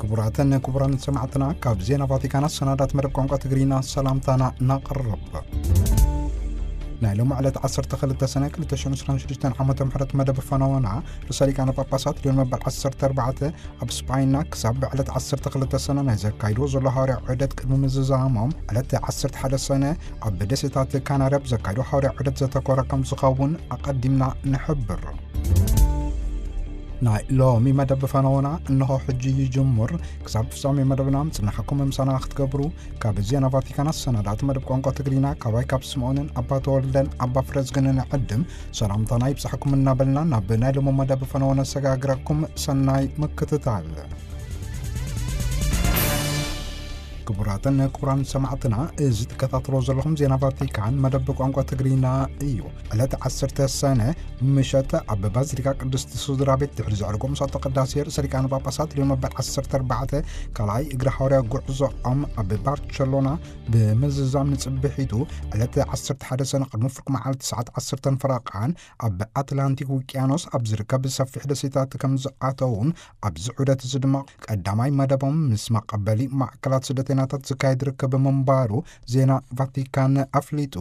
ክቡራትን ክቡራን ሰማዕትና፣ ካብ ዜና ቫቲካን ኣሰናዳት መደብ ቋንቋ ትግርኛ ሰላምታና ነቕርብ። ናይ ሎሚ ዕለት ዓሰርተ ክልተ ሰነ ክልተ ሽሕን ዕስራን ሽዱሽተን ዓመተ ምሕረት መደብ ፈነወና፣ ርእሰ ሊቃነ ጳጳሳት ሊዮን መበል ዓሰርተ ኣርባዕተ ኣብ ስጳይና ክሳብ ዕለት ዓሰርተ ክልተ ሰነ ናይ ዘካይድዎ ዘሎ ሃዋርያ ዑደት ቅድሚ ምዝዛሞም፣ ዕለት ዓሰርተ ሓደ ሰነ ኣብ ደሴታት ካናሪ ኣብ ዘካይድዎ ሃዋርያ ዑደት ዘተኮረ ከም ዝኸውን ኣቐዲምና ንሕብር። ናይ ሎሚ መደብ ፈነወና እንሆ ሕጂ ይጅምር። ክሳብ ፍጻሜ መደብና ምጽናሕኩም ምሳና ክትገብሩ ካብ ዜና ቫቲካን ኣሰናዳእቲ መደብ ቋንቋ ትግርኛ ካባይ ካብ ስምዖንን ኣባ ተወልደን ኣባ ፍረዝግንን ዕድም ሰላምታና ይብጻሕኩም እናበልና ናብ ናይ ሎሚ መደብ ፈነወና ነሰጋግረኩም። ሰናይ ምክትታል። ክቡራትን ክቡራን ሰማዕትና፣ እዚ ትከታተሎ ዘለኹም ዜና ቫቲካን መደብ ቋንቋ ትግርኛ እዩ። ዕለት ዓሰርተ ሰነ ምሸት ኣብ ባዚሊካ ቅድስቲ ስድራ ቤት ድሕሪ ዘዕርጎ ምሳቶ ቅዳሴ ርእሰ ሊቃነ ጳጳሳት ሊዮን መበል ዓሰርተ ኣርባዕተ ካልኣይ እግሪ ሃዋርያ ጉዕዞኦም ኣብ ባርቸሎና ብምዝዛም፣ ንጽብሒቱ ዕለት ዓሰርተ ሓደ ሰነ ቅድሚ ፍርቂ መዓልቲ ሰዓት ዓሰርተ ፈረቓን ኣብ ኣትላንቲክ ውቅያኖስ ኣብ ዝርከብ ሰፊሕ ደሴታት ከም ዝኣተውን፣ ኣብዚ ዑደት እዚ ድማ ቀዳማይ መደቦም ምስ መቐበሊ ማዕከላት ስደተኛታት ዝካየድ ርክብ ምንባሩ ዜና ቫቲካን ኣፍሊጡ።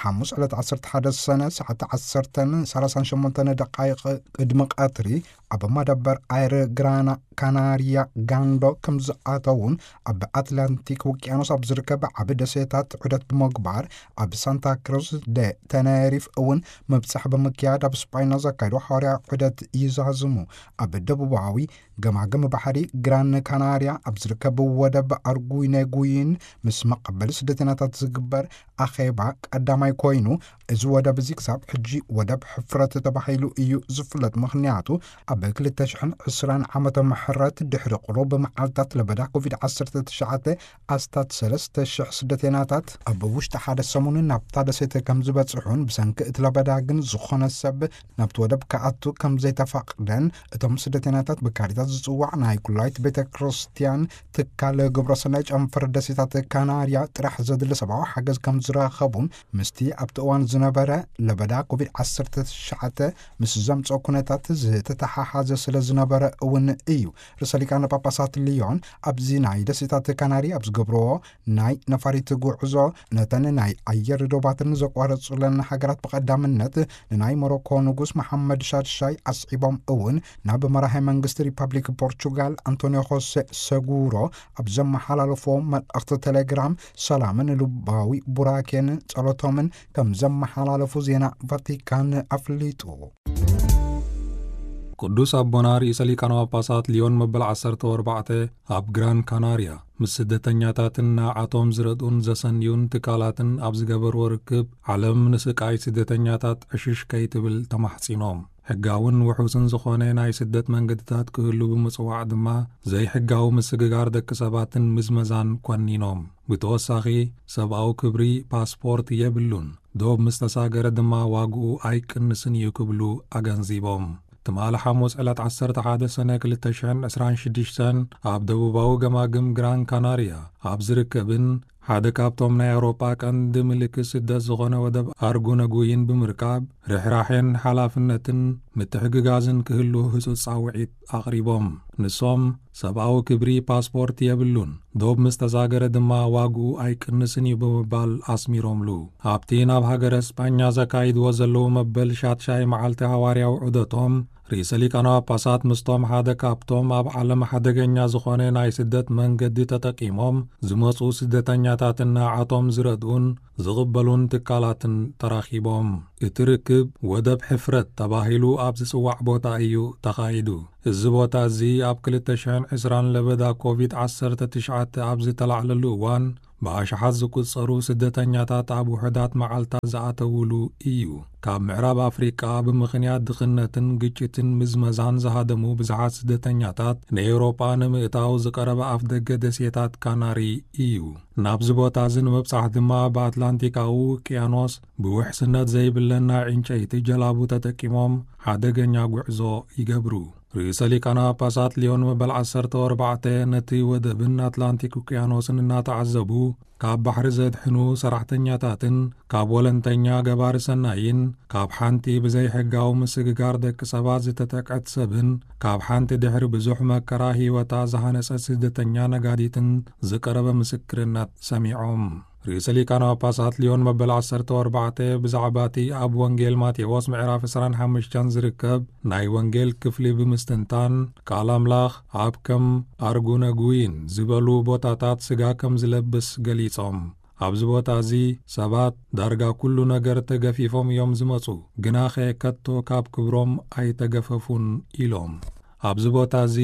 ሓሙስ ዕለት ዓሰርተ ሓደ ሰነ ሰዓት ዓሰርተ ሰላሳ ሸሞንተ ደቃይቕ ቅድሚ ቀትሪ ኣብ መደበር ኣየር ግራና ካናሪያ ጋንዶ ከም ዝኣተውን፣ ኣብ ኣትላንቲክ ውቅያኖስ ኣብ ዝርከብ ዓቢ ደሴታት ዑደት ብምግባር፣ ኣብ ሳንታ ክሩዝ ደ ተነሪፍ እውን ምብጻሕ ብምክያድ ኣብ ስጳይና ዘካይዶ ሃዋርያ ዑደት ይዛዝሙ። ኣብ ደቡባዊ ገማግም ባሕሪ ግራን ካናርያ ኣብ ዝርከብ ወደብ ኣርጉይነጉይን ምስ መቐበሊ ስደተኛታት ዝግበር ኣኼባ ቀዳማይ ኮይኑ፣ እዚ ወደብ እዚ ክሳብ ሕጂ ወደብ ሕፍረት ተባሂሉ እዩ ዝፍለጥ። ምኽንያቱ፣ ኣብ ክልተ ሽሕን ዕስራን ዓመተ ምሕረት ድሕሪ ቁሩብ መዓልታት ለበዳ ኮቪድ ዓሰርተ ትሽዓተ ኣስታት ሰለስተ ሽሕ ስደተኛታት ኣብ ውሽጢ ሓደ ሰሙን ናብታ ደሴት ከም ዝበጽሑን፣ ብሰንኪ እቲ ለበዳ ግን ዝኾነ ሰብ ናብቲ ወደብ ክኣቱ ከም ዘይተፈቕደን፣ እቶም ስደተኛታት ብካሪታስ ዝጽዋዕ ናይ ኩላይት ቤተ ክርስቲያን ትካል ግብረሰናይ ጨንፈር ደሴታት ካናርያ ጥራሕ ዘድሊ ሰብኣዊ ሓገዝ ከም ዝረኸቡን፣ ምስቲ ኣብቲ እዋን ዝነበረ ለበዳ ኮቪድ ዓሰርተ ትሽዓተ ምስ ዘምጽኦ ኩነታት ዝተተሓሓዘ ስለ ዝነበረ እውን እዩ። ርእሰ ሊቃነ ጳጳሳት ሊዮን ኣብዚ ናይ ደሴታት ካናሪ ኣብ ዝገብርዎ ናይ ነፋሪት ጉዕዞ፣ ነተን ናይ ኣየር ዶባትን ዘቋረጹለን ሃገራት ብቐዳምነት ንናይ ሞሮኮ ንጉስ መሓመድ ሻድሻይ ኣስዒቦም እውን ናብ መራሒ መንግስቲ ሪፐብሊክ ፖርቹጋል ኣንቶኒዮ ሆሴ ሰጉሮ ኣብ ዘመሓላለፎ መልእኽቲ ቴሌግራም ሰላምን ልባዊ ቡራኬን ጸሎቶምን ከም ዘመሓላለፉ ዜና ቫቲካን ኣፍሊጡ። ቅዱስ ኣቦና ርእሰ ሊቃነ ጳጳሳት ሊዮን መበል ዓሰርተ ኣርባዕተ ኣብ ግራን ካናርያ ምስ ስደተኛታትን ንዓቶም ዝረድኡን ዘሰንዩን ትካላትን ኣብ ዝገበርዎ ርክብ፣ ዓለም ንስቃይ ስደተኛታት ዕሽሽ ከይትብል ተማሕጺኖም። ሕጋውን ውሑስን ዝኾነ ናይ ስደት መንገድታት ክህሉ ብምጽዋዕ ድማ፣ ዘይሕጋዊ ምስግጋር ደቂ ሰባትን ምዝመዛን ኮኒኖም። ብተወሳኺ፣ ሰብኣዊ ክብሪ፣ ፓስፖርት የብሉን፣ ዶብ ምስ ተሳገረ ድማ ዋግኡ ኣይቅንስን እዩ ክብሉ ኣገንዚቦም። ትማሊ ሓሙስ ዕለት ዓሰርተ ሓደ ሰነ ክልተ ሽሕን ዕስራን ሽዱሽተን ኣብ ደቡባዊ ገማግም ግራን ካናርያ ኣብ ዝርከብን ሓደ ካብቶም ናይ ኣውሮጳ ቀንዲ ምልክት ስደት ዝኾነ ወደብ ኣርጉነጉይን ብምርካብ፣ ርሕራሕን ሓላፍነትን ምትሕግጋዝን ክህሉ ህጹጽ ጻውዒት ኣቕሪቦም። ንሶም፣ ሰብኣዊ ክብሪ ፓስፖርት የብሉን፣ ዶብ ምስ ተሳገረ ድማ ዋግኡ ኣይቅንስን እዩ ብምባል ኣስሚሮምሉ። ኣብቲ ናብ ሃገረ ስጳኛ ዘካይድዎ ዘለዉ መበል ሻትሻይ መዓልቲ ሃዋርያዊ ዑደቶም፣ ርእሰ ሊቃነ ጳጳሳት ምስቶም ሓደ ካብቶም ኣብ ዓለም ሓደገኛ ዝኾነ ናይ ስደት መንገዲ ተጠቂሞም ዝመጹ ስደተኛታትን ንዓቶም ዝረድኡን ዝቕበሉን ትካላትን ተራኺቦም። እቲ ርክብ ወደብ ሕፍረት ተባሂሉ ኣብ ዝጽዋዕ ቦታ እዩ ተኻይዱ። እዚ ቦታ እዚ ኣብ ክልተ ሽሕን ዕስራን ለበዳ ኮቪድ ዓሰርተ ትሽዓተ ኣብ ዝተላዕለሉ እዋን፣ ብኣሽሓት ዝቁጸሩ ስደተኛታት ኣብ ውሑዳት መዓልታት ዝኣተውሉ እዩ። ካብ ምዕራብ ኣፍሪቃ ብምኽንያት ድኽነትን ግጭትን ምዝመዛን ዝሃደሙ ብዙሓት ስደተኛታት ንኤውሮጳ ንምእታው ዝቐረበ ኣፍደገ ደሴታት ካናሪ እዩ። ናብዚ ቦታ እዚ ንምብጻሕ ድማ ብኣትላንቲካዊ ውቅያኖስ ብውሕስነት ዘይብለን ናይ ዕንጨይቲ ጀላቡ ተጠቂሞም ሓደገኛ ጉዕዞ ይገብሩ። ርእሰ ሊቃነ ጳጳሳት ሊዮን መበል ዓሰርተ ኣርባዕተ ነቲ ወደብን ኣትላንቲክ ውቅያኖስን እናተዓዘቡ፣ ካብ ባሕሪ ዘድሕኑ ሰራሕተኛታትን ካብ ወለንተኛ ገባሪ ሰናይን፣ ካብ ሓንቲ ብዘይሕጋዊ ምስግጋር ደቂ ሰባት ዝተጠቅዐት ሰብን፣ ካብ ሓንቲ ድሕሪ ብዙሕ መከራ ህይወታ ዝሃነጸት ስደተኛ ነጋዲትን ዝቀረበ ምስክርነት ሰሚዖም። ርእሰ ሊቃነ ጳጳሳት ሊዮን መበል ዓሰርተ ኣርባዕተ ብዛዕባ እቲ ኣብ ወንጌል ማቴዎስ ምዕራፍ ዕስራን ሓሙሽተን ዝርከብ ናይ ወንጌል ክፍሊ ብምስትንታን፣ ቃል ኣምላኽ ኣብ ከም ኣርጉነጉይን ዝበሉ ቦታታት ስጋ ከም ዝለብስ ገሊጾም። ኣብዚ ቦታ እዚ ሰባት ዳርጋ ኩሉ ነገር ተገፊፎም እዮም ዝመጹ፣ ግናኸ ከቶ ካብ ክብሮም ኣይተገፈፉን ኢሎም። ኣብዚ ቦታ እዚ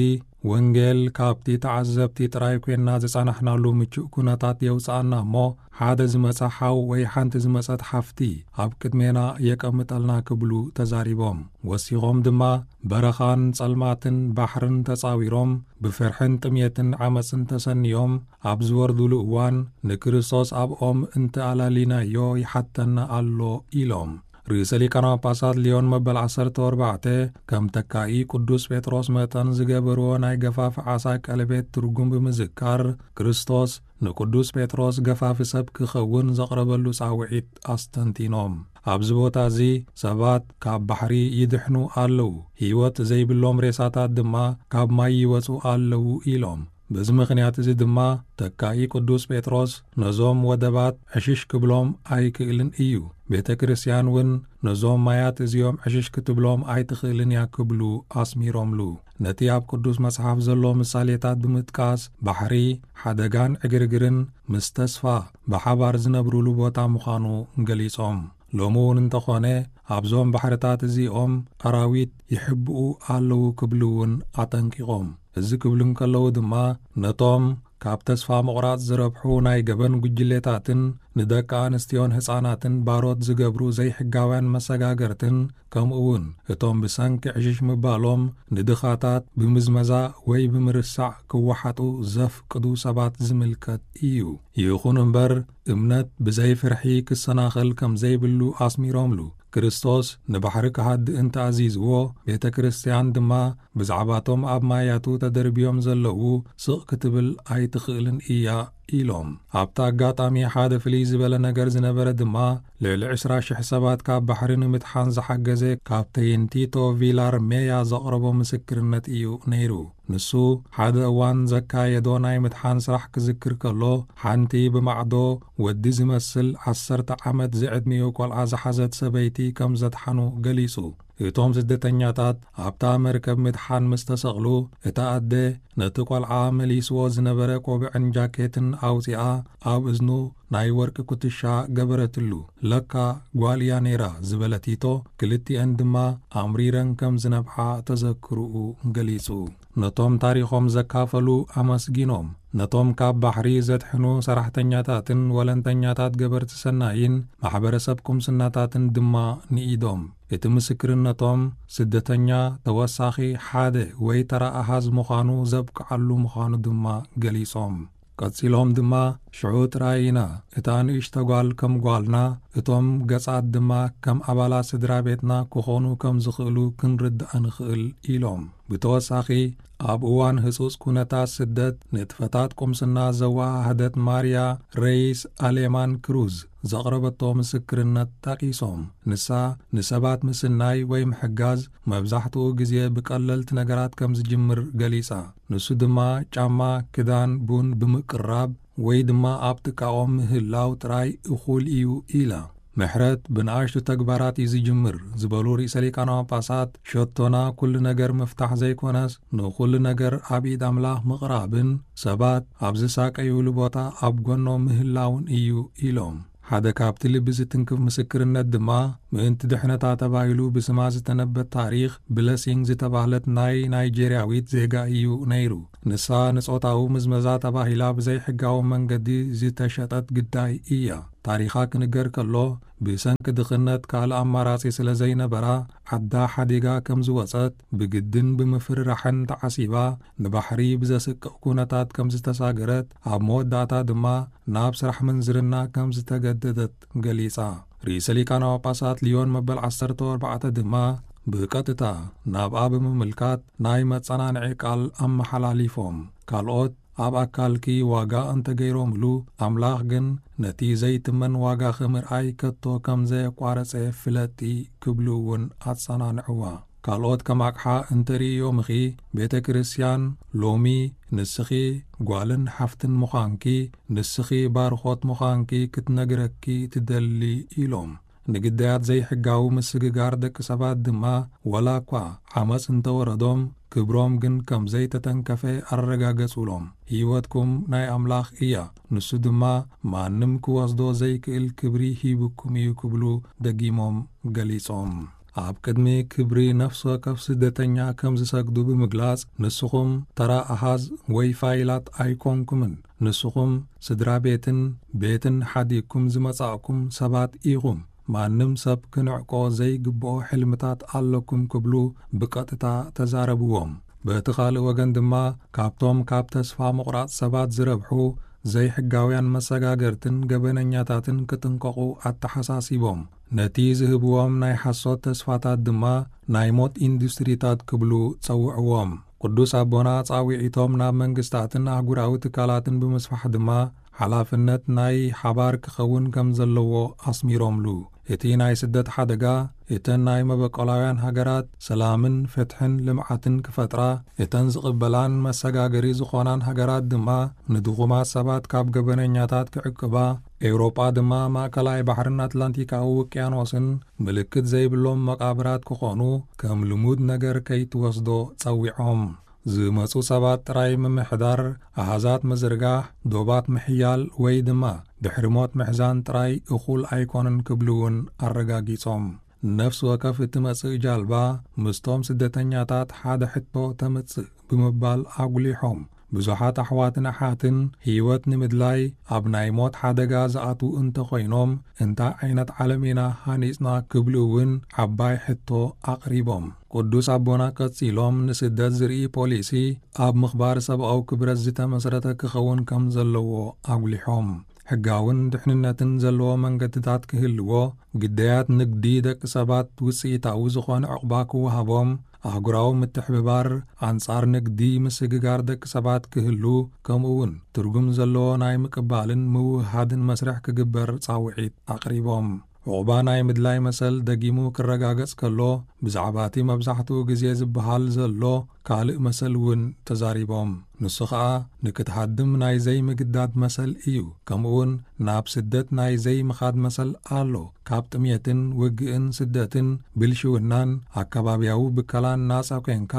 ወንጌል ካብቲ ተዓዘብቲ ጥራይ ኮይና ዝጸናሕናሉ ምቹእ ኩነታት የውጽኣና እሞ፣ ሓደ ዝመጸ ሓው ወይ ሓንቲ ዝመጸት ሓፍቲ ኣብ ቅድሜና የቀምጠልና ክብሉ ተዛሪቦም። ወሲኾም ድማ በረኻን ጸልማትን ባሕርን ተጻዊሮም ብፍርሕን ጥሜትን ዓመጽን ተሰንዮም ኣብ ዝወርዱሉ እዋን ንክርስቶስ ኣብኦም እንተኣላሊናዮ ይሓተና ኣሎ ኢሎም። ርእሰ ሊቃነ ጳጳሳት ሊዮን መበል ዓሰርተ ኣርባዕተ ከም ተካኢ ቅዱስ ጴጥሮስ መጠን ዝገበርዎ ናይ ገፋፍ ዓሳ ቀለቤት ትርጉም ብምዝካር፣ ክርስቶስ ንቅዱስ ጴጥሮስ ገፋፊ ሰብ ክኸውን ዘቕረበሉ ጻውዒት ኣስተንቲኖም። ኣብዚ ቦታ እዚ ሰባት ካብ ባሕሪ ይድሕኑ ኣለዉ፣ ህይወት ዘይብሎም ሬሳታት ድማ ካብ ማይ ይወጹ ኣለዉ ኢሎም። በዚ ምኽንያት እዚ ድማ ተካኢ ቅዱስ ጴጥሮስ ነዞም ወደባት ዕሽሽ ክብሎም ኣይክእልን እዩ። ቤተ ክርስቲያን እውን ነዞም ማያት እዚኦም ዕሽሽ ክትብሎም ኣይትኽእልን እያ ክብሉ ኣስሚሮምሉ። ነቲ ኣብ ቅዱስ መጽሓፍ ዘሎ ምሳሌታት ብምጥቃስ፣ ባሕሪ፣ ሓደጋን ዕግርግርን ምስ ተስፋ ብሓባር ዝነብሩሉ ቦታ ምዃኑ ገሊጾም። ሎሚ እውን እንተኾነ ኣብዞም ባሕርታት እዚኦም ኣራዊት ይሕብኡ ኣለዉ ክብሉ እውን ኣጠንቂቖም። እዚ ክብሉ እንከለዉ ድማ ነቶም ካብ ተስፋ ምቑራጽ ዝረብሑ ናይ ገበን ጉጅሌታትን ንደቂ ኣንስትዮን ህጻናትን ባሮት ዝገብሩ ዘይሕጋውያን መሰጋገርትን፣ ከምኡ እውን እቶም ብሰንኪ ዕሽሽ ምባሎም ንድኻታት ብምዝመዛ ወይ ብምርሳዕ ክወሓጡ ዘፍቅዱ ሰባት ዝምልከት እዩ። ይኹን እምበር፣ እምነት ብዘይ ፍርሒ ክሰናኸል ከም ዘይብሉ ኣስሚሮምሉ። ክርስቶስ ንባሕሪ ክሃድእ እንተኣዚዝዎ፣ ቤተ ክርስቲያን ድማ ብዛዕባቶም ኣብ ማያቱ ተደርብዮም ዘለዉ ስቕ ክትብል ኣይትኽእልን እያ ኢሎም። ኣብቲ ኣጋጣሚ ሓደ ፍልይ ዝበለ ነገር ዝነበረ ድማ፣ ልዕሊ ዕስራ ሽሕ ሰባት ካብ ባሕሪ ንምድሓን ዝሓገዘ ካፕተይን ቲቶ ቪላር ሜያ ዘቕረቦ ምስክርነት እዩ ነይሩ። ንሱ ሓደ እዋን ዘካየዶ ናይ ምድሓን ስራሕ ክዝክር ከሎ፣ ሓንቲ ብማዕዶ ወዲ ዝመስል ዓሰርተ ዓመት ዝዕድሚኡ ቆልዓ ዝሓዘት ሰበይቲ ከም ዘድሓኑ ገሊጹ። እቶም ስደተኛታት ኣብታ መርከብ ምድሓን ምስ ተሰቕሉ፣ እታ ኣደ ነቲ ቆልዓ መሊስዎ ዝነበረ ቆብዕን ጃኬትን ኣውጺኣ፣ ኣብ እዝኑ ናይ ወርቂ ኩትሻ ገበረትሉ። "ለካ ጓል እያ ነይራ" ዝበለ ቲቶ፣ ክልቲኤን ድማ ኣምሪረን ከም ዝነብዓ ተዘክርኡ ገሊጹ። ነቶም ታሪኾም ዘካፈሉ ኣመስጊኖም። ነቶም ካብ ባሕሪ ዘድሕኑ ሰራሕተኛታትን ወለንተኛታት ገበርቲ ሰናይን ማሕበረሰብ ቁምስናታትን ድማ ንኢዶም። እቲ ምስክርነቶም ስደተኛ ተወሳኺ ሓደ ወይ ተራ ኣሃዝ ምዃኑ ዘብቅዓሉ ምዃኑ ድማ ገሊጾም። ቀጺሎም ድማ፣ "ሽዑ ጥራይ ኢና እታ ንእሽቶ ጓል ከም ጓልና፣ እቶም ገጻት ድማ ከም ኣባላት ስድራ ቤትና ክኾኑ ከም ዝኽእሉ ክንርዳእ ንኽእል" ኢሎም። ብተወሳኺ፣ ኣብ እዋን ህጹጽ ኩነታት ስደት፣ ንጥፈታት ቁምስና ዘወሃሃደት ማርያ ሬይስ ኣሌማን ክሩዝ ዘቕረበቶ ምስክርነት ጠቒሶም፣ ንሳ ንሰባት ምስናይ ወይ ምሕጋዝ መብዛሕትኡ ግዜ ብቀለልቲ ነገራት ከም ዝጅምር ገሊጻ። ንሱ ድማ ጫማ፣ ክዳን፣ ቡን ብምቅራብ ወይ ድማ ኣብ ጥቃኦም ምህላው ጥራይ እኹል እዩ ኢላ። ምሕረት ብንኣሽቱ ተግባራት እዩ ዝጅምር ዝበሉ ርእሰ ሊቃነ ጳጳሳት፣ ሸቶና ኩሉ ነገር ምፍታሕ ዘይኮነስ፣ ንኹሉ ነገር ኣብ ኢድ ኣምላኽ ምቕራብን ሰባት ኣብ ዝሳቀዩሉ ቦታ ኣብ ጎኖም ምህላውን እዩ ኢሎም። ሓደ ካብቲ ልቢ ዝትንክፍ ምስክርነት ድማ፣ ምእንቲ ድሕነታ ተባሂሉ ብስማ ዝተነበ ታሪኽ ብለሲንግ ዝተባህለት ናይ ናይጄርያዊት ዜጋ እዩ ነይሩ። ንሳ ንጾታዊ ምዝመዛ ተባሂላ ብዘይሕጋዊ መንገዲ ዝተሸጠት ግዳይ እያ። ታሪኻ ክንገር ከሎ፣ ብሰንኪ ድኽነት ካልእ ኣማራጺ ስለ ዘይነበራ፣ ዓዳ ሓዲጋ ከም ዝወጸት፣ ብግድን ብምፍርራሕን ተዓሲባ፣ ንባሕሪ ብዘስቅቕ ኩነታት ከም ዝተሳገረት፣ ኣብ መወዳእታ ድማ ናብ ስራሕ ምንዝርና ከም ዝተገደደት ገሊጻ። ርእሰ ሊቃነ ጳጳሳት ሊዮን መበል ዓሰርተ ኣርባዕተ ድማ፣ ብቀጥታ ናብኣ ብምምልካት ናይ መጸናንዒ ቃል ኣመሓላሊፎም። ካልኦት ኣብ ኣካልኪ ዋጋ እንተገይሮምሉ፣ ኣምላኽ ግን ነቲ ዘይትመን ዋጋኺ ምርኣይ ከቶ ከም ዘየቋረጸ ፍለጢ ክብሉ እውን ኣጸናንዕዋ። ካልኦት ከም ኣቕሓ እንተርእዮምኺ፣ ቤተ ክርስቲያን ሎሚ ንስኺ ጓልን ሓፍትን ምዃንኪ፣ ንስኺ ባርኾት ምዃንኪ ክትነግረኪ ትደሊ ኢሎም። ንግዳያት ዘይሕጋዊ ምስግጋር ደቂ ሰባት ድማ፣ ወላ እኳ ዓመጽ እንተወረዶም፣ ክብሮም ግን ከም ዘይተተንከፈ ኣረጋገጹሎም። ህይወትኩም ናይ ኣምላኽ እያ፣ ንሱ ድማ ማንም ክወስዶ ዘይክእል ክብሪ ሂብኩም እዩ ክብሉ ደጊሞም ገሊጾም። ኣብ ቅድሚ ክብሪ ነፍሲ ወከፍ ስደተኛ ከም ዝሰግዱ ብምግላጽ፣ ንስኹም ተራ ኣሃዝ ወይ ፋይላት ኣይኮንኩምን። ንስኹም ስድራ ቤትን ቤትን ሓዲግኩም ዝመጻእኩም ሰባት ኢኹም። ማንም ሰብ ክንዕቆ ዘይግብኦ ሕልምታት ኣለኩም ክብሉ ብቀጥታ ተዛረብዎም። በቲ ካልእ ወገን ድማ፣ ካብቶም ካብ ተስፋ ምቑራጽ ሰባት ዝረብሑ ዘይሕጋውያን መሰጋገርትን ገበነኛታትን ክጥንቀቑ ኣተሓሳሲቦም። ነቲ ዝህብዎም ናይ ሓሶት ተስፋታት ድማ ናይ ሞት ኢንዱስትሪታት ክብሉ ጸውዕዎም። ቅዱስ ኣቦና ጻውዒቶም ናብ መንግስታትን ኣህጉራዊ ትካላትን ብምስፋሕ ድማ፣ ሓላፍነት ናይ ሓባር ክኸውን ከም ዘለዎ ኣስሚሮምሉ። እቲ ናይ ስደት ሓደጋ፣ እተን ናይ መበቆላውያን ሃገራት ሰላምን ፍትሕን ልምዓትን ክፈጥራ፣ እተን ዝቕበላን መሰጋገሪ ዝኾናን ሃገራት ድማ ንድኹማት ሰባት ካብ ገበነኛታት ክዕቅባ፣ ኤውሮጳ ድማ ማእከላይ ባሕርን ኣትላንቲካዊ ውቅያኖስን ምልክት ዘይብሎም መቓብራት ክኾኑ ከም ልሙድ ነገር ከይትወስዶ ጸዊዖም። ዝመጹ ሰባት ጥራይ ምምሕዳር፣ ኣሃዛት ምዝርጋሕ፣ ዶባት ምሕያል ወይ ድማ ድሕሪ ሞት ምሕዛን ጥራይ እኹል ኣይኮነን ክብሉ እውን ኣረጋጊጾም። ነፍሲ ወከፍ እትመጽእ ጃልባ ምስቶም ስደተኛታት ሓደ ሕቶ ተምጽእ ብምባል ኣጉሊሖም። ብዙሓት ኣሕዋትን ኣሓትን ህይወት ንምድላይ ኣብ ናይ ሞት ሓደጋ ዝኣትዉ እንተኾይኖም፣ እንታይ ዓይነት ዓለም ኢና ሃኒጽና ክብሉ እውን ዓባይ ሕቶ ኣቕሪቦም። ቅዱስ ኣቦና ቀጺሎም፣ ንስደት ዝርኢ ፖሊሲ ኣብ ምኽባር ሰብኣዊ ክብረት ዝተመስረተ ክኸውን ከም ዘለዎ ኣጉሊሖም። ሕጋውን ድሕንነትን ዘለዎ መንገድታት ክህልዎ፣ ግዳያት ንግዲ ደቂ ሰባት ውጽኢታዊ ዝኾነ ዕቑባ ክወሃቦም፣ ኣህጉራዊ ምትሕብባር ኣንጻር ንግዲ ምስግጋር ደቂ ሰባት ክህሉ፣ ከምኡ እውን ትርጉም ዘለዎ ናይ ምቅባልን ምውህሃድን መስርሕ ክግበር ጻውዒት ኣቕሪቦም። ዕቑባ ናይ ምድላይ መሰል ደጊሙ ክረጋገጽ ከሎ፣ ብዛዕባ እቲ መብዛሕትኡ ግዜ ዝበሃል ዘሎ ካልእ መሰል እውን ተዛሪቦም። ንሱ ኸኣ፣ ንክትሃድም ናይ ዘይምግዳድ መሰል እዩ። ከምኡውን ናብ ስደት ናይ ዘይምኻድ መሰል ኣሎ። ካብ ጥሜትን ውግእን ስደትን ብልሽውናን ኣከባብያዊ ብከላን ናጻ ኮንካ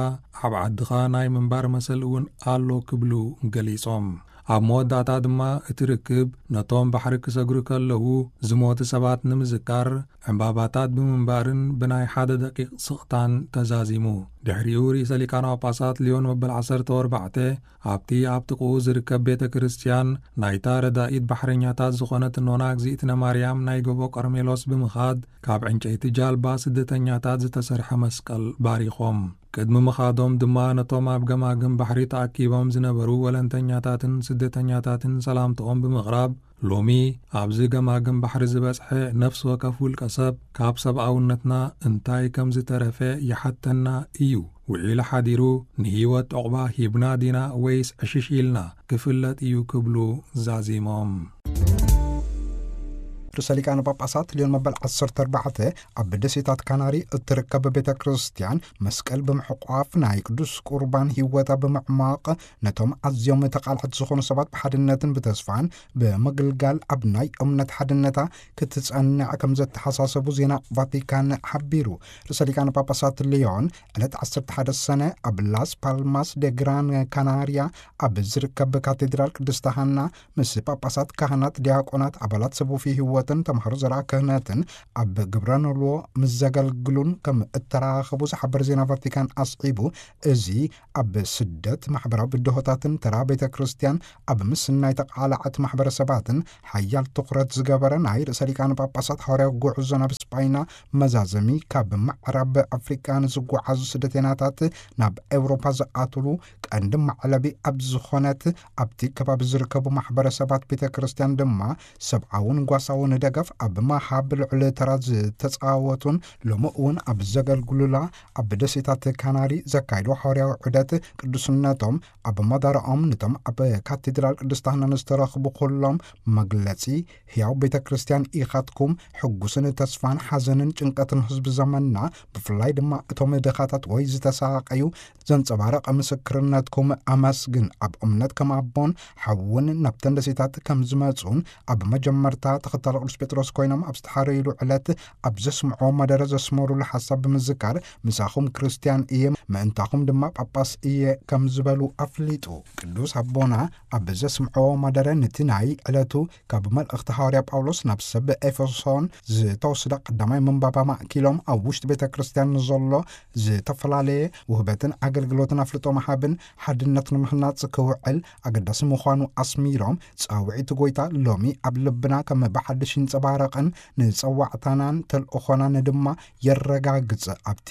ኣብ ዓድኻ ናይ ምንባር መሰል እውን ኣሎ ክብሉ ገሊጾም። ኣብ መወዳእታ ድማ እቲ ርክብ ነቶም ባሕሪ ክሰግሩ ከለዉ ዝሞቱ ሰባት ንምዝካር ዕምባባታት ብምንባርን ብናይ ሓደ ደቂቕ ስቕታን ተዛዚሙ። ድሕሪኡ ርእሰ ሊቃነ ጳጳሳት ሊዮን መበል ዓሰርተ ኣርባዕተ ኣብቲ ኣብ ጥቕኡ ዝርከብ ቤተ ክርስቲያን ናይታ ረዳኢት ባሕረኛታት ዝኾነት ኖና እግዚኣብነ ማርያም ናይ ጎቦ ቀርሜሎስ ብምኻድ ካብ ዕንጨይቲ ጃልባ ስደተኛታት ዝተሰርሐ መስቀል ባሪኾም። ቅድሚ ምኻዶም ድማ ነቶም ኣብ ገማግም ባሕሪ ተኣኪቦም ዝነበሩ ወለንተኛታትን ስደተኛታትን ሰላምታኦም ብምቕራብ፣ ሎሚ ኣብዚ ገማግም ባሕሪ ዝበጽሐ ነፍሲ ወከፍ ውልቀ ሰብ ካብ ሰብኣውነትና እንታይ ከም ዝተረፈ ይሓተና እዩ። ውዒሉ ሓዲሩ ንህይወት ዕቑባ ሂብና ዲና ወይስ ዕሽሽ ኢልና ክፍለጥ እዩ ክብሉ ዛዚሞም። ርእሰ ሊቃነ ጳጳሳት ሊዮን መበል ዓሰርተ ኣርባዕተ ኣብ ደሴታት ካናሪ እትርከብ ቤተ ክርስቲያን መስቀል ብምሕቋፍ ናይ ቅዱስ ቁርባን ህይወታ ብምዕማቕ ነቶም ኣዝዮም ተቓልዕቲ ዝኾኑ ሰባት ብሓድነትን ብተስፋን ብምግልጋል ኣብ ናይ እምነት ሓድነታ ክትጸንዕ ከም ዘተሓሳሰቡ ዜና ቫቲካን ሓቢሩ። ርእሰ ሊቃነ ጳጳሳት ሊዮን ዕለት ዓሰርተ ሓደ ሰነ ኣብ ላስ ፓልማስ ደ ግራን ካናርያ ኣብ ዝርከብ ካቴድራል ቅድስተ ሃና ምስ ጳጳሳት፣ ካህናት፣ ዲያቆናት፣ ኣባላት ሰብ ወፍይ ህይወትን ተምሃሮ ዘርኣ ክህነትን ኣብ ግብረ ኖልዎ ምስ ዘገልግሉን ከም እተራኸቡ ዝሓበር ዜና ቫቲካን ኣስዒቡ፣ እዚ ኣብ ስደት ማሕበራዊ ብድሆታትን ተራ ቤተ ክርስቲያን ኣብ ምስናይ ተቓላዕቲ ማሕበረሰባትን ሓያል ትኹረት ዝገበረ ናይ ርእሰ ሊቃነ ጳጳሳት ሃዋርያዊ ጉዕዞ ናብ ስጳይና መዛዘሚ፣ ካብ ምዕራብ ኣፍሪቃ ንዝጓዓዙ ስደተኛታት ናብ ኤውሮፓ ዝኣትሉ ቀንዲ መዕለቢ ኣብ ዝኾነት ኣብቲ ከባቢ ዝርከቡ ማሕበረሰባት ቤተ ክርስቲያን ድማ ሰብኣውን ጓሳውን ደገፍ ኣብ መሃብ ልዑል ተራ ዝተጻወቱን ሎሚ እውን ኣብ ዘገልግሉላ ኣብ ደሴታት ካናሪ ዘካይዶ ሓዋርያዊ ዑደት ቅዱስነቶም ኣብ መደረኦም ነቶም ኣብ ካቴድራል ቅድስት ሃና ንዝተረኽቡ ኩሎም መግለጺ ሕያው ቤተ ክርስቲያን ኢኻትኩም ሕጉስን ተስፋን ሓዘንን ጭንቀትን ህዝቢ ዘመንና ብፍላይ ድማ እቶም ድኻታት ወይ ዝተሳቐዩ ዘንጸባረቐ ምስክርነትኩም ኣመስግን። ኣብ እምነት ከም ኣቦን ሓውን ናብተን ደሴታት ከም ዝመጹን ኣብ መጀመርታ ተኸታሊ ቅዱስ ጴጥሮስ ኮይኖም ኣብ ዝተሓረዩሉ ዕለት ኣብ ዘስምዖ መደረ ዘስመሩሉ ሓሳብ ብምዝካር ምሳኹም ክርስቲያን እየ ምእንታኹም ድማ ጳጳስ እየ ከም ዝበሉ ኣፍሊጡ። ቅዱስ ኣቦና ኣብ ዘስምዖ መደረ ነቲ ናይ ዕለቱ ካብ መልእኽቲ ሃዋርያ ጳውሎስ ናብ ሰብ ኤፌሶን ዝተወስደ ቀዳማይ ምንባባ ማእኪሎም ኣብ ውሽጢ ቤተ ክርስቲያን ንዘሎ ዝተፈላለየ ውህበትን ኣገልግሎትን ኣፍልጦ መሃብን ሓድነት ንምህናጽ ክውዕል ኣገዳሲ ምዃኑ ኣስሚሮም ጻውዒት ጎይታ ሎሚ ኣብ ልብና ከም ብሓድሽ ይንጸባረቕን ንጸዋዕታናን ተልእኾናን ድማ የረጋግጽ። ኣብቲ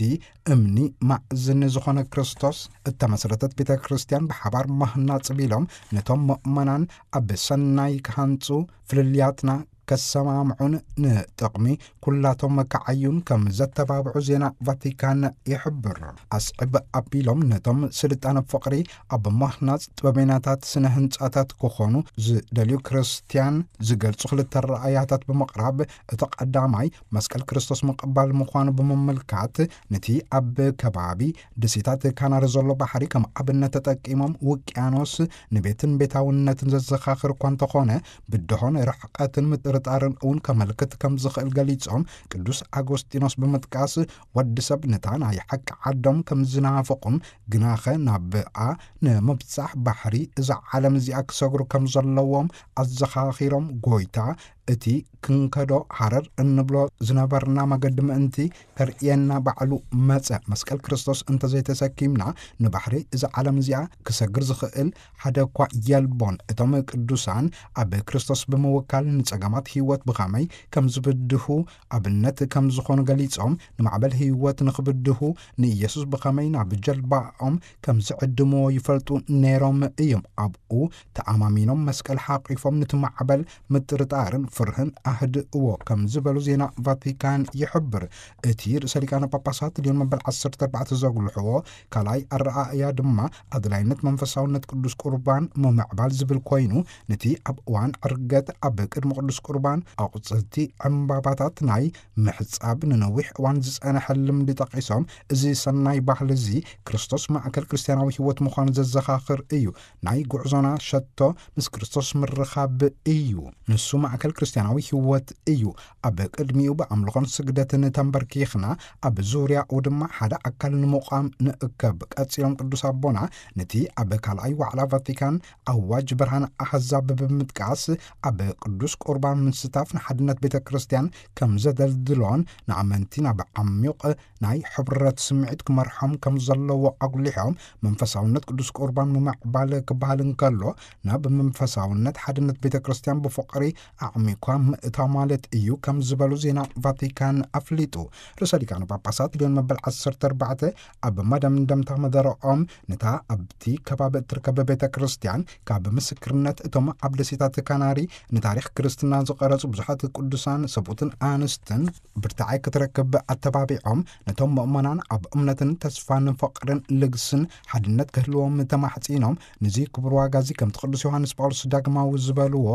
እምኒ ማእዝኒ ዝኾነ ክርስቶስ እተመስረተት ቤተ ክርስቲያን ብሓባር ምህናጽ ቢሎም ነቶም ምእመናን ኣብ ሰናይ ክሃንጹ ፍልልያትና ከሰማምዑን ንጥቕሚ ኩላቶም መካዓዩን ከም ዘተባብዑ ዜና ቫቲካን ይሕብር። ኣስዕብ ኣቢሎም ነቶም ስልጣነ ፍቕሪ ኣብ ምህናጽ ጥበበኛታት ስነ ህንጻታት ክኾኑ ዝደልዩ ክርስቲያን ዝገልጹ ክልተ ረኣያታት ብምቕራብ እቲ ቀዳማይ መስቀል ክርስቶስ ምቕባል ምዃኑ ብምምልካት ነቲ ኣብ ከባቢ ደሴታት ካናሪ ዘሎ ባሕሪ ከም ኣብነት ተጠቂሞም ውቅያኖስ ንቤትን ቤታውነትን ዘዘኻኽር እኳ እንተኾነ ብድሆን ርሕቀትን ምጥርጣርን እውን ከመልክት ከም ዝኽእል ገሊጾም ቅዱስ ኣጎስጢኖስ ብምጥቃስ ወዲ ሰብ ነታ ናይ ሓቂ ዓዶም ከም ዝናፍቑን ግናኸ ናብኣ ንምብጻሕ ባሕሪ እዛ ዓለም እዚኣ ክሰግሩ ከም ዘለዎም ኣዘኻኺሮም ጎይታ እቲ ክንከዶ ሃረር እንብሎ ዝነበርና መገዲ ምእንቲ ከርእየና ባዕሉ መጸ። መስቀል ክርስቶስ እንተዘይተሰኪምና ንባሕሪ እዛ ዓለም እዚኣ ክሰግር ዝኽእል ሓደ እኳ የልቦን። እቶም ቅዱሳን ኣብ ክርስቶስ ብምውካል ንጸገማት ህይወት ብኸመይ ከም ዝብድሁ ኣብነት ከም ዝኾኑ ገሊጾም ንማዕበል ህይወት ንኽብድሁ ንኢየሱስ ብኸመይ ናብ ጀልባኦም ከም ዝዕድምዎ ይፈልጡ ነይሮም እዮም። ኣብኡ ተኣማሚኖም መስቀል ሓቂፎም ነቲ ማዕበል ምጥርጣርን ፍርህን ኣህድእዎ ከም ዝበሉ ዜና ቫቲካን ይሕብር። እቲ ርእሰ ሊቃነ ጳጳሳት ሊዮን መበል ዓሰርተ ኣርባዕተ ዘጉልሕዎ ካልኣይ ኣረኣእያ ድማ ኣድላይነት መንፈሳውነት ቅዱስ ቁርባን ምምዕባል ዝብል ኮይኑ ነቲ ኣብ እዋን ዕርገት ኣብ ቅድሚ ቅዱስ ቁርባን ኣቑጽልቲ ዕምባባታት ናይ ምሕጻብ ንነዊሕ እዋን ዝጸንሐ ልምዲ ጠቒሶም እዚ ሰናይ ባህሊ እዚ ክርስቶስ ማእከል ክርስትያናዊ ህይወት ምዃኑ ዘዘኻኽር እዩ። ናይ ጉዕዞና ሸቶ ምስ ክርስቶስ ምርኻብ እዩ። ንሱ ማእከል ክርስትያናዊ ህይወት እዩ። ኣብ ቅድሚኡ ብኣምልኾን ስግደትን ተንበርኪኽና ኣብ ዙርያኡ ድማ ሓደ ኣካል ንምቋም ንእከብ። ቀጺሎም ቅዱስ ኣቦና ነቲ ኣብ ካልኣይ ዋዕላ ቫቲካን ኣዋጅ ብርሃን ኣህዛብ ብምጥቃስ ኣብ ቅዱስ ቁርባን ምስታፍ ንሓድነት ቤተ ክርስቲያን ከም ዘደልድሎን ንኣመንቲ ናብ ዓሚቕ ናይ ሕብረት ስምዒት ክመርሖም ከም ዘለዎ ኣጉሊሖም መንፈሳውነት ቅዱስ ቁርባን ምምዕባል ክበሃል እንከሎ ናብ መንፈሳውነት ሓድነት ቤተ ክርስቲያን ብፍቕሪ ኣዕሚኳ ምእታ ማለት እዩ ከም ዝበሉ ዜና ቫቲካን ኣፍሊጡ። ርእሰ ሊቃነ ጳጳሳት ሊዮን መበል ዓሰርተ ኣርባዕተ ኣብ መደምደምታ መደረኦም ነታ ኣብቲ ከባቢ እትርከብ ቤተ ክርስቲያን ካብ ምስክርነት እቶም ኣብ ደሴታት ካናሪ ንታሪኽ ክርስትና ዝቐረጹ ብዙሓት ቅዱሳን ሰብኡትን ኣንስትን ብርታዐ ክትረክብ ኣተባቢዖም ነቶም ምእመናን ኣብ እምነትን ተስፋን ፍቕርን ልግስን ሓድነት ክህልዎም ተማሕጺኖም። ነዚ ክቡር ዋጋ እዚ ከምቲ ቅዱስ ዮሃንስ ጳውሎስ ዳግማዊ ዝበልዎ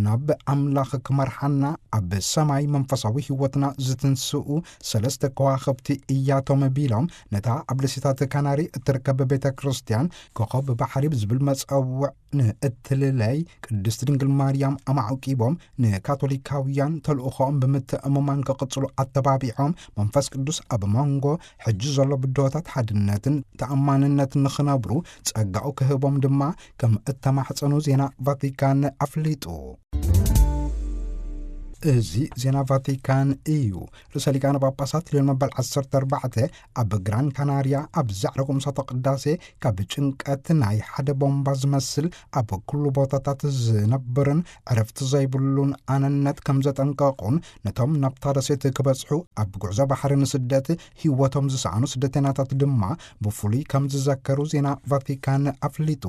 ናብ ኣምላኽ ክመርሓና ኣብ ሰማይ መንፈሳዊ ህይወትና ዝትንስኡ ሰለስተ ከዋኽብቲ እያቶም ቢሎም ነታ ኣብ ደሴታት ካናሪ እትርከብ ቤተ ክርስቲያን ኮኸብ ባሕሪ ብዝብል መጸውዕ ንእትልለይ ቅድስት ድንግል ማርያም ኣማዕቂቦም ንካቶሊካውያን ተልእኾኦም ብምትእምማን ክቕጽሉ ኣተባቢዖም መንፈስ ቅዱስ ኣብ መንጎ ሕጂ ዘሎ ብድሆታት ሓድነትን ተኣማንነትን ንኽነብሩ ጸጋኡ ክህቦም ድማ ከም እተማሕጸኑ ዜና ቫቲካን ኣፍሊጡ። እዚ ዜና ቫቲካን እዩ። ርእሰ ሊቃነ ጳጳሳት ሊዮን መበል ዓሰርተ ኣርባዕተ ኣብ ግራን ካናርያ ኣብ ዛዕረጎም እሳተ ቅዳሴ ካብ ጭንቀት ናይ ሓደ ቦምባ ዝመስል ኣብ ኩሉ ቦታታት ዝነብርን ዕረፍቲ ዘይብሉን ኣነነት ከም ዘጠንቀቑን ነቶም ናብታ ደሴት ክበጽሑ ኣብ ጉዕዞ ባሕሪ ንስደት ህይወቶም ዝሰኣኑ ስደተኛታት ድማ ብፍሉይ ከም ዝዘከሩ ዜና ቫቲካን ኣፍሊጡ።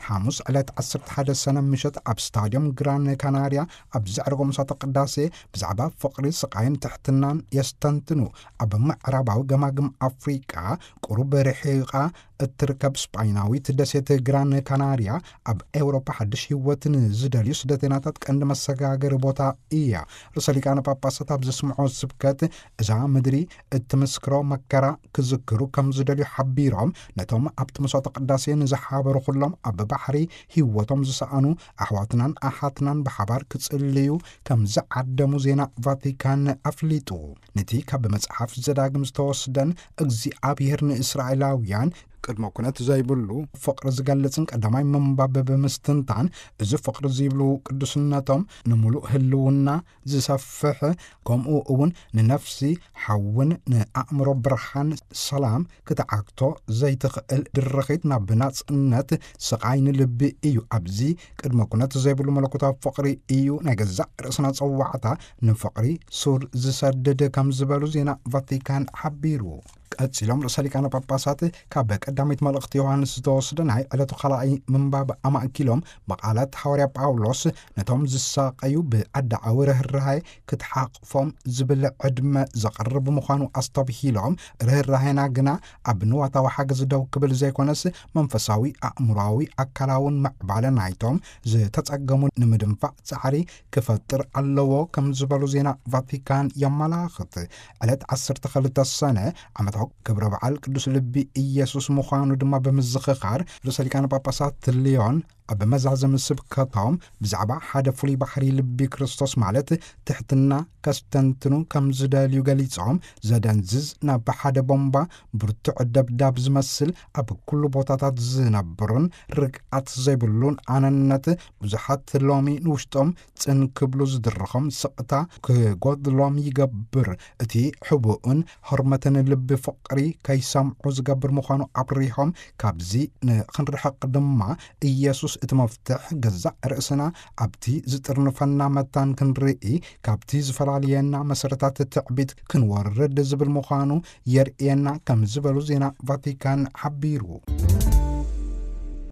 ሓሙስ ዕለት ዓሰርተ ሓደ ሰነ ምሸት ኣብ ስታድዮም ግራን ካናርያ ኣብ ዛዕረጎም እሳተ ቅዳሴ ብዛዕባ ፍቕሪ፣ ስቓይን ትሕትናን የስተንትኑ። ኣብ ምዕራባዊ ገማግም ኣፍሪቃ ቁሩብ ርሒቓ እትርከብ ስጳይናዊት ደሴት ግራን ካናርያ ኣብ ኤውሮፓ ሓድሽ ህይወት ንዝደልዩ ስደተኛታት ቀንዲ መሰጋገሪ ቦታ እያ። ርእሰ ሊቃነ ጳጳሳት ኣብ ዘስምዖ ስብከት፣ እዛ ምድሪ እትምስክሮ መከራ ክዝክሩ ከም ዝደልዩ ሓቢሮም፣ ነቶም ኣብቲ መስዋዕተ ቅዳሴ ንዝሓበሩ ኩሎም፣ ኣብ ባሕሪ ህይወቶም ዝሰኣኑ ኣሕዋትናን ኣሓትናን ብሓባር ክጽልዩ ከም ዝዓደሙ ዜና ቫቲካን ኣፍሊጡ። ነቲ ካብ መጽሓፍ ዘዳግም ዝተወስደን እግዚኣብሔር ንእስራኤላውያን ቅድመ ኩነት ዘይብሉ ፍቕሪ ዝገልጽን ቀዳማይ ምንባብ ብምስትንታን፣ እዚ ፍቕሪ ዝብሉ ቅዱስነቶም ንምሉእ ህልውና ዝሰፍሕ፣ ከምኡ እውን ንነፍሲ ሓውን ንኣእምሮ ብርሃን ሰላም ክትዓግቶ ዘይትኽእል ድርኺት ናብ ናጽነት ስቓይ ንልቢ እዩ። ኣብዚ ቅድመ ኩነት ዘይብሉ መለኮታዊ ፍቕሪ እዩ ናይ ገዛእ ርእስና ጸዋዕታ ንፍቕሪ ሱር ዝሰድድ ከም ዝበሉ ዜና ቫቲካን ሓቢሩ። ቀጺሎም ርእሰ ሊቃነ ጳጳሳት ካብ ቀዳሚት መልእኽቲ ዮሃንስ ዝተወስደ ናይ ዕለቱ ካልኣይ ምንባብ ኣማእኪሎም፣ ብቓላት ሃዋርያ ጳውሎስ ነቶም ዝሳቐዩ ብኣዳዓዊ ርህራሄ ክትሓቕፎም ዝብል ዕድመ ዘቕርብ ምዃኑ ኣስተብሂሎም፣ ርህራሄና ግና ኣብ ንዋታዊ ሓገዝ ደው ክብል ዘይኮነስ፣ መንፈሳዊ፣ ኣእምሮኣዊ፣ ኣካላውን ምዕባለ ናይቶም ዝተጸገሙ ንምድንፋዕ ጻዕሪ ክፈጥር ኣለዎ ከም ዝበሉ ዜና ቫቲካን የመላኽት። ዕለት ዓሰርተ ክልተ ሰነ ዓመታዊ ክብረ በዓል ቅዱስ ልቢ ኢየሱስ ምዃኑ ድማ ብምዝኽኻር፣ ርእሰ ሊቃነ ጳጳሳት ልዮን ኣብ መዛዘሚ ስብከቶም ብዛዕባ ሓደ ፍሉይ ባህሪ ልቢ ክርስቶስ፣ ማለት ትሕትና፣ ከስተንትኑ ከም ዝደልዩ ገሊጾም፣ ዘደንዝዝ፣ ናብ ሓደ ቦምባ ብርቱዕ ደብዳብ ዝመስል፣ ኣብ ኩሉ ቦታታት ዝነብርን ርግኣት ዘይብሉን ኣነነት፣ ብዙሓት ሎሚ ንውሽጦም ጽን ክብሉ ዝድርኾም ስቕታ ክጎድሎም ይገብር። እቲ ሕቡእን ህርመትን ልቢ ፍቕሪ ከይሰምዑ ዝገብር ምዃኑ ኣብሪሆም፣ ካብዚ ንኽንርሕቕ ድማ ኢየሱስ እቲ መፍትሕ፣ ገዛእ ርእስና ኣብቲ ዝጥርንፈና መታን ክንርኢ፣ ካብቲ ዝፈላልየና መሰረታት ትዕቢት ክንወርድ ዝብል ምዃኑ የርእየና ከም ዝበሉ ዜና ቫቲካን ሓቢሩ።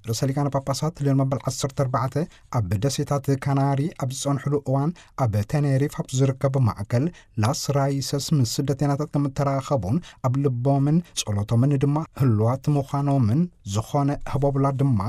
ርእሰ ሊቃነ ጳጳሳት ልዮን መበል ዓሰርተ ኣርባዕተ ኣብ ደሴታት ካናሪ ኣብ ዝጸንሕሉ እዋን፣ ኣብ ተኔሪፍ ኣብ ዝርከብ ማእከል ላስ ራይሰስ ምስ ስደተኛታት ከም እተራኸቡን ኣብ ልቦምን ጸሎቶምን ድማ ህሉዋት ምዃኖምን፣ ዝኾነ ህቦብላ ድማ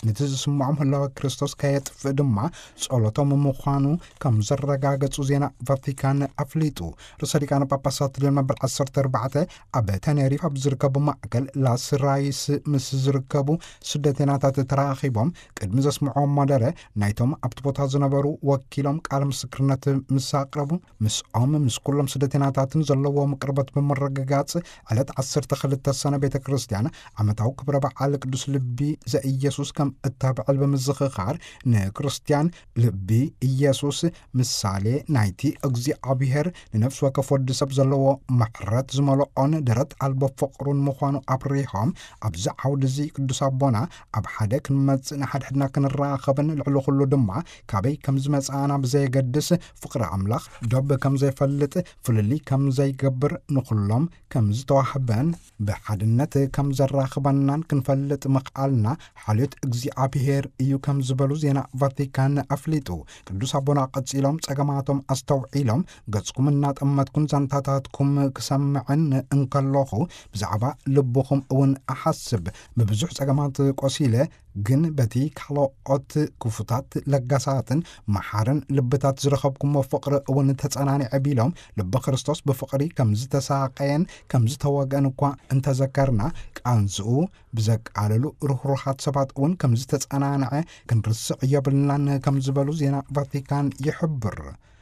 ነቲ ዝስምዖም ህላወ ክርስቶስ ከየጥፍእ ድማ ጸሎቶም ምዃኑ ከም ዘረጋገጹ ዜና ቫቲካን ኣፍሊጡ። ርእሰ ሊቃነ ጳጳሳት ልዮን መበል ዓሰርተ ኣርባዕተ ኣብ ተኔሪፍ ኣብ ዝርከቡ ማእከል ላስ ራይስ ምስ ዝርከቡ ስደተኛታት ተራኺቦም ቅድሚ ዘስምዖም መደረ፣ ናይቶም ኣብቲ ቦታ ዝነበሩ ወኪሎም ቃል ምስክርነት ምስ ኣቕረቡ፣ ምስኦም ምስ ኩሎም ስደተኛታትን ዘለዎ ቅርበት ብምርግጋጽ፣ ዕለት ዓሰርተ ክልተ ሰነ ቤተ ክርስቲያን ዓመታዊ ክብረ በዓል ቅዱስ ልቢ ዘኢየሱስ ከም እተብዕል ብምዝኽኻር፣ ንክርስቲያን ልቢ ኢየሱስ ምሳሌ ናይቲ እግዚኣብሔር ንነፍሲ ወከፍ ወዲ ሰብ ዘለዎ ምሕረት ዝመልኦን ደረት ኣልቦ ፍቕሩን ምዃኑ ኣብሪሆም፣ ኣብዚ ዓውዲ እዚ ቅዱስ ኣቦና ኣብ ሓደ ክንመጽእ ንሓድሕድና ክንራኸብን ልዕሊ ኩሉ ድማ ካበይ ከም ዝመጽኣና ብዘየገድስ ፍቕሪ ኣምላኽ ዶብ ከም ዘይፈልጥ ፍልልይ ከም ዘይገብር ንኹሎም ከም ዝተዋህበን ብሓድነት ከም ዘራኽበናን ክንፈልጥ ምኽኣልና ሓልዮት እግዚኣብሔር እዩ ከም ዝበሉ ዜና ቫቲካን ኣፍሊጡ። ቅዱስ ኣቦና ቀጺሎም ጸገማቶም ኣስተውዒሎም፣ ገጽኩም እናጠመትኩን ዛንታታትኩም ክሰምዕን እንከለኹ ብዛዕባ ልብኹም እውን እሓስብ። ብብዙሕ ጸገማት ቆሲለ፣ ግን በቲ ካልኦት ክፉታት ለጋሳትን መሓርን ልብታት ዝረኸብኩሞ ፍቕሪ እውን ተጸናኒዐ ቢሎም፣ ልቢ ክርስቶስ ብፍቕሪ ከም ዝተሳቀየን ከም ዝተወግአን እኳ እንተዘከርና፣ ቃንዝኡ ብዘቃለሉ ርህሩሃት ሰባት እውን ከም ዝተጸናንዐ ክንርስዕ የብልናን ከም ዝበሉ ዜና ቫቲካን ይሕብር።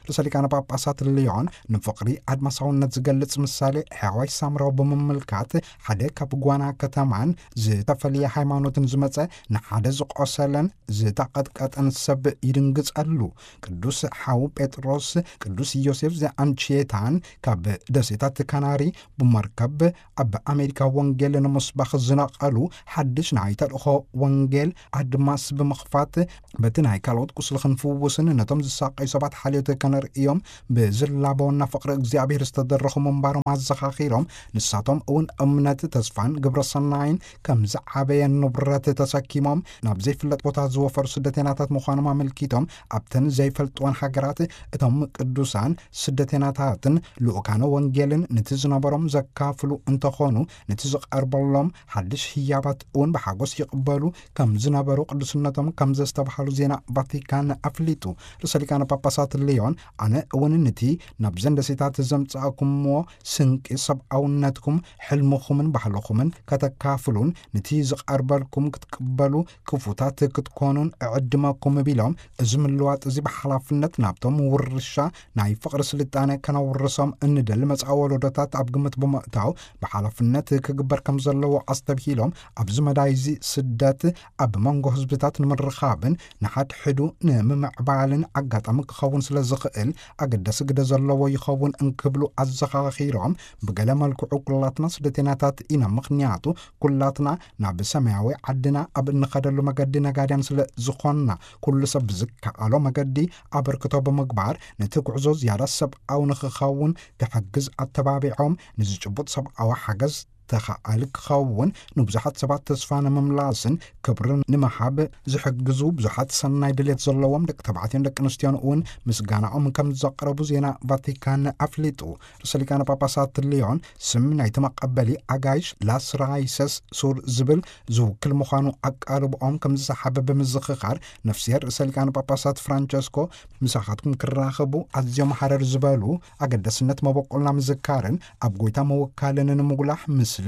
ርእሰ ሊቃነ ጳጳሳት ልዮን ንፍቕሪ ኣድማሳውነት ዝገልጽ ምሳሌ ሕያዋይ ሳምራዊ ብምምልካት፣ ሓደ ካብ ጓና ከተማን ዝተፈልየ ሃይማኖትን ዝመጸ ንሓደ ዝቆሰለን ዝተቐጥቀጠን ሰብ ይድንግጸሉ። ቅዱስ ሓው ጴጥሮስ፣ ቅዱስ ዮሴፍ ዘኣንቺየታን ካብ ደሴታት ካናሪ ብመርከብ ኣብ ኣሜሪካ ወንጌል ንምስባኽ ዝነቐሉ ሓድሽ ናይ ተልእኾ ወንጌል ኣድማስ ብምኽፋት፣ በቲ ናይ ካልኦት ቁስሊ ክንፍውስን ነቶም ዝሳቀዩ ሰባት ሓልዮት ነርእዮም ብዝላበውና ፍቕሪ እግዚኣብሔር ዝተደረኹ ምንባሮም ኣዘኻኺሮም፣ ንሳቶም እውን እምነት፣ ተስፋን ግብረ ሰናይን ከም ዝዓበየ ንብረት ተሰኪሞም ናብ ዘይፍለጥ ቦታ ዝወፈሩ ስደተናታት ምዃኖም ኣመልኪቶም፣ ኣብተን ዘይፈልጥወን ሃገራት እቶም ቅዱሳን ስደተናታትን ልኡካነ ወንጌልን ንቲ ዝነበሮም ዘካፍሉ እንተኾኑ፣ ንቲ ዝቐርበሎም ሓድሽ ህያባት እውን ብሓጎስ ይቕበሉ ከም ዝነበሩ ቅዱስነቶም ከም ዘስተብሃሉ ዜና ቫቲካን ኣፍሊጡ። ርእሰ ሊቃነ ጳጳሳት ሊዮን፣ ኣነ እውን ንቲ ናብዘን ደሴታት ዘምጻእኩምዎ ስንቂ ሰብኣውነትኩም፣ ሕልምኹምን ባህልኹምን ከተካፍሉን ንቲ ዝቐርበልኩም ክትቅበሉ፣ ክፉታት ክትኮኑን እዕድመኩም ቢሎም፣ እዚ ምልዋጥ እዚ ብሓላፍነት ናብቶም ውርሻ ናይ ፍቕሪ ስልጣነ ከነውርሶም እንደሊ መጻኢ ወለዶታት ኣብ ግምት ብምእታው ብሓላፍነት ክግበር ከም ዘለዎ ኣስተብሂሎም፣ ኣብዚ መዳይ እዚ ስደት ኣብ መንጎ ህዝብታት ንምርኻብን ንሓድሕዱ ንምምዕባልን ኣጋጣሚ ክኸውን ስለ ዝኽእል ኣገዳሲ ግደ ዘለዎ ይኸውን እንክብሉ ኣዘኻኺሮም፣ ብገለ መልክዑ ኩላትና ስደተናታት ኢና፣ ምኽንያቱ ኩላትና ናብ ሰማያዊ ዓድና ኣብ እንኸደሉ መገዲ ነጋድያን ስለ ዝኾንና፣ ኩሉ ሰብ ብዝከኣሎ መገዲ ኣበርክቶ ብምግባር ነቲ ጉዕዞ ዝያዳ ሰብኣዊ ንኽኸውን ክሕግዝ ኣተባቢዖም፣ ንዝጭቡጥ ሰብኣዊ ሓገዝ ተኻኣሊ ክኸውን፣ ንብዙሓት ሰባት ተስፋ ንምምላስን ክብርን ንምሃብ ዝሕግዙ ብዙሓት ሰናይ ድሌት ዘለዎም ደቂ ተባዕትዮን ደቂ ኣንስትዮን እውን ምስጋናኦም ከም ዘቕረቡ ዜና ቫቲካን ኣፍሊጡ። ርእሰ ሊቃነ ጳጳሳት ሊዮን ስም ናይቲ መቐበሊ ኣጋይሽ ላስራይሰስ ሱር ዝብል ዝውክል ምዃኑ ኣቃልብኦም ከም ዝሰሓበ ብምዝኽኻር፣ ነፍስሄር ርእሰ ሊቃነ ጳጳሳት ፍራንቸስኮ ምሳኻትኩም ክራኸቡ ኣዝዮም ሃረር ዝበሉ ኣገዳስነት መበቆልና ምዝካርን ኣብ ጎይታ ምውካልን ንምጉላሕ ምስሊ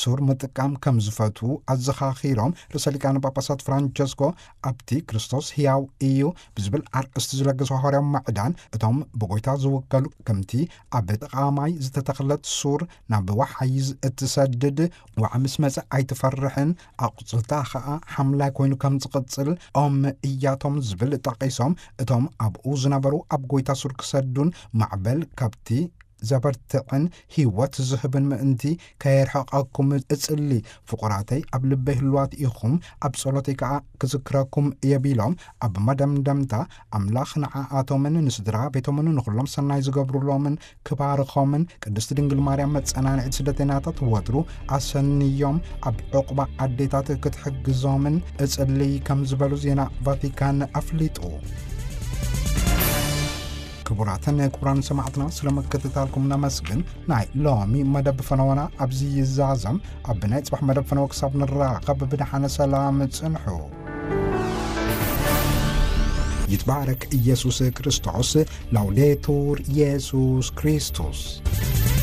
ሱር ምጥቃም ከም ዝፈትዉ ኣዘኻኺሮም፣ ርእሰ ሊቃነ ጳጳሳት ፍራንቸስኮ ኣብቲ ክርስቶስ ሕያው እዩ ብዝብል ኣርእስቲ ዝለገሰ ሃዋርያዊ ማዕዳን፣ እቶም ብጎይታ ዝውከሉ ከምቲ ኣብ ጥቓ ማይ ዝተተኽለት ሱር ናብ ዋሕይዝ እትሰድድ ዋዕ ምስ መጸ ኣይትፈርሕን፣ ኣቑጽልታ ኸኣ ሓምላይ ኮይኑ ከም ዝቕጽል ኦም እያቶም ዝብል ጠቒሶም፣ እቶም ኣብኡ ዝነበሩ ኣብ ጎይታ ሱር ክሰዱን ማዕበል ካብቲ ዘበርትዕን ህይወት ዝህብን ምእንቲ ከየርሕቐኩም እጽሊ። ፍቑራተይ ኣብ ልበይ ህልዋት ኢኹም፣ ኣብ ጸሎተይ ከኣ ክዝክረኩም እየ ቢሎም፣ ኣብ መደምደምታ ኣምላኽ ንዓኣቶምን ንስድራ ቤቶምን ንኹሎም ሰናይ ዝገብሩሎምን ክባርኾምን፣ ቅድስቲ ድንግል ማርያም መጸናንዒት ስደተናታት ወትሩ ኣሰንዮም ኣብ ዕቑባ ኣዴታት ክትሕግዞምን እጽልይ ከም ዝበሉ ዜና ቫቲካን ኣፍሊጡ። ክቡራትን ክቡራን ሰማዕትና፣ ስለ ምክትታልኩም ነመስግን። ናይ ሎሚ መደብ ፈነወና ኣብዚ ይዛዘም። ኣብ ናይ ጽባሕ መደብ ፈነወ ክሳብ ንራኸብ ብደሓነ ሰላም ጽንሑ። ይትባረክ ኢየሱስ ክርስቶስ። ላውዴቱር ኢየሱስ ክርስቶስ።